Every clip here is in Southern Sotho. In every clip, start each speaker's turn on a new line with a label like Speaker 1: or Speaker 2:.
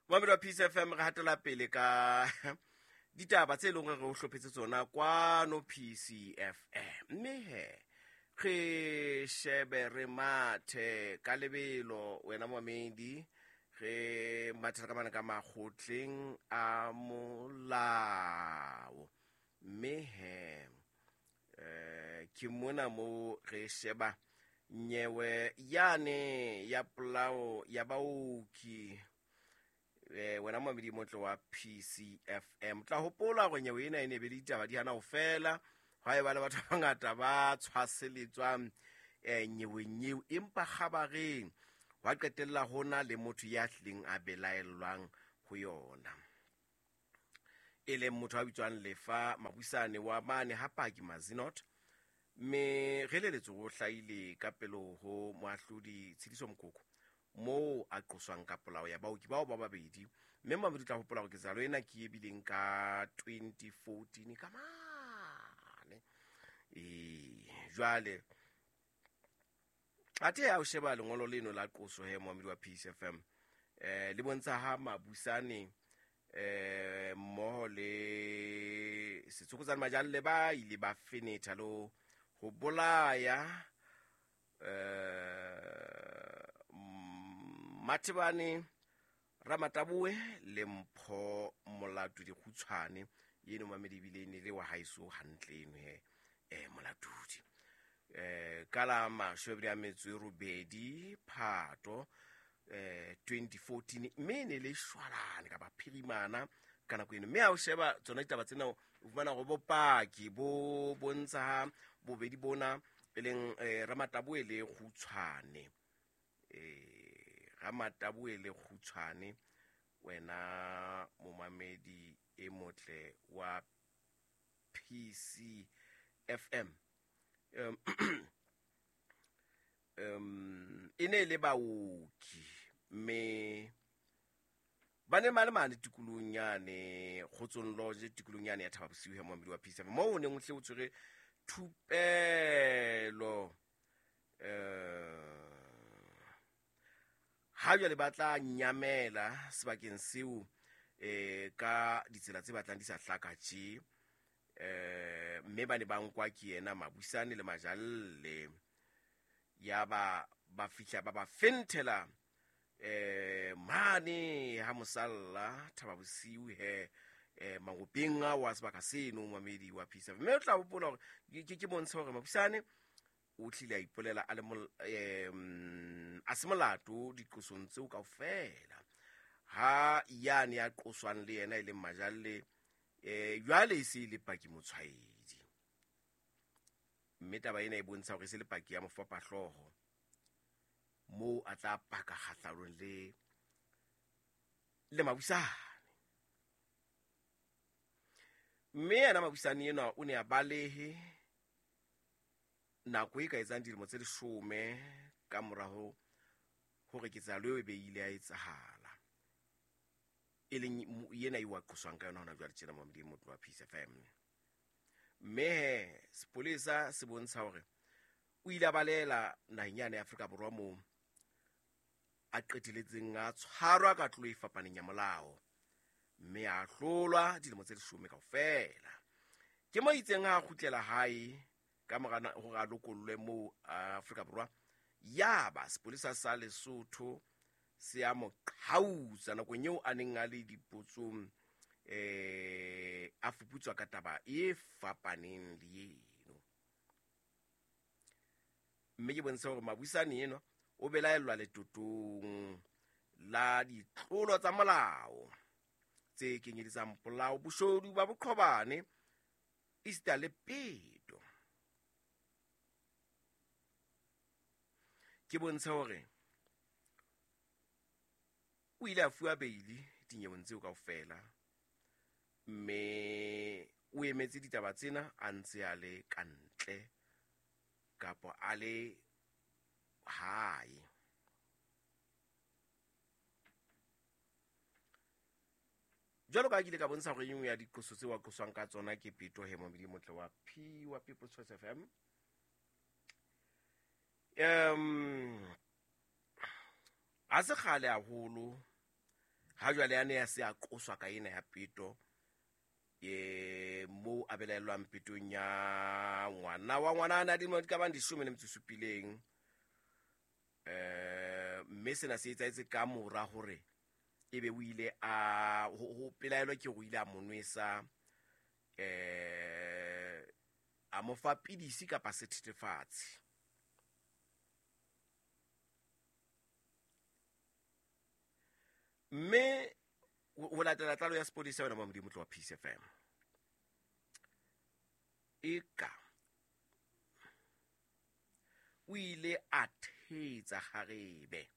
Speaker 1: Momamedi wa Peace FM, re hatela pele ka ditaba tse leng gore re o hlophetse tsona kwano PCFM. Mme he re shebe re mathe ka lebelo wena momamedi, re mathela ka mane ka makgotleng a molao. Mme he ke mona mo re sheba nyewe yane ya polao ya baoki. Wena momamedi motle wa PCFM, tla hopola gore nyewe ena e ne be le ditaba di hana ho fela, hwa e ba le batho ba bangata ba tshwaseletswang nyeweng eo, empa kgabareng hwa qetella hona le motho ya hlileng a belaellwang ho yona, e leng motho a bitswang Lefa Mabusane wa mane ha Paki Mazinot. Mme re leletse ho hlahile ka pele ho moahlodi Tshidiso Mokoko, moo a qoswang ka polao ya baoki bao ba babedi. Mme mamedi tla hopola hore ketsahalo ena ke e bileng ka 2014 ka mane. Jwale athe ha o sheba lengolo leno la qoso he momamedi wa Peace FM, le bontsha ha Mabusane mmoho le Setsokotsane Majalle ba ile ba fenetha le ho bolaya Mathebane Ramataboe le Mpho Molatudi Kgutshwane, eno mamedi ebile e ne le wa haeso hantle eno he, Molatudi. Ka la mashome a metso e robedi Phato 2014, mme e ne le shwalane kapa phirimana ka nako eno. Mme ha o sheba tsona ditaba tsena, o fumana hore bopaki bo bontsha ha bobedi bona e leng Ramataboe le Kgutshwane, Ramataboe le Kgutshwane, wena momamedi e motle wa PCFM, e ne le baoki, mme ba ne ba le mane tikolohong yane Kgotsong Lodge, tikolohong yane ya Thaba Bosiu, momamedi wa PCFM, moo o neng o hle o tshwere thupelo. Ha jwale ba tla nyamela sebakeng seo ka ditsela tse batlang di sa hlaka tje, mme ba ne ba nkwa ke yena Mabusane le Majalle, ya ba ba fihla ba ba fenthela mane ha mosalla Thaba Bosiu he, mangopeng a wa sebaka seno, momamedi wa Peace FM. Mme o tla hopola hore ke bontshe hore Mabusane o tlile a ipolela a le a se molato diqosong tseo kaofela, ha yane ya qoswang le yena e leng Majalle, jwale e se e le paki motshwaedi. Mme taba ena e bontsha hore e se le paki ya mofapahlooho, moo a tla paka kgahlanong le Mabusane. Mme yena Mabusane enwa o ne a balehe nako e ka etsang dilemo tse 10 ka mora hore ketsahalo eo e be ile ya etsahala, e leng yena eo a qoswang ka yona hona jwale tjena, momamedi motlo wa Peace FM. Mme he sepolesa se bontsha hore o ile a balela naheng yane ya Afrika Borwa, moo a qeteletseng a tshwarwa ka tlolo e fapaneng ya molao, mme a hlolwa dilemo tse 10 kaofela. Ke mo itseng ha a kgutlela hae ka mora hore a lokollwe moo Afrika Borwa, ya ba sepolesa sa Lesotho se a mo qhautsa nakong eo a neng a le dipotsong, a fuputswa ka taba e fapaneng le eno. Mme ke bontshe hore Mabusane enwa o belaellwa letotong la ditlolo tsa molao tse kenyeletsang polao, boshodu ba boqhobane, esita le peto. Ke bontshe hore o ile a fuwa beili dinyeweng tseo kaofela, mme o emetse ditaba tsena a ntse a le ka ntle kapa a le hae. Jwalo ka ha ke ile ka bontsha hore e nngwe ya diqoso tseo a qoswang ka tsona ke peto he, momamedi motle wa P wa People's Choice FM. Ha se kgale haholo Ha jwale a ne a se a qoswa ka ena ya peto, e moo a belaellwang petong ya ngwana wa ngwana a dilemo di ka bang 17. Mme sena se etsahetse ka mora hore ebe o ile a ho pelaelo ke o ile a mo nwesa, a mo fa pidisi kapa sethethefatsi. Mme ho latela tlalo ya sepodisa yona Modimo tloha Peace FM, eka o ile a thetsa kgarebe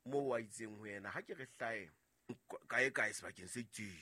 Speaker 1: moo a itseng ho yena, ha ke re hlae kae kae sebakeng se itseng.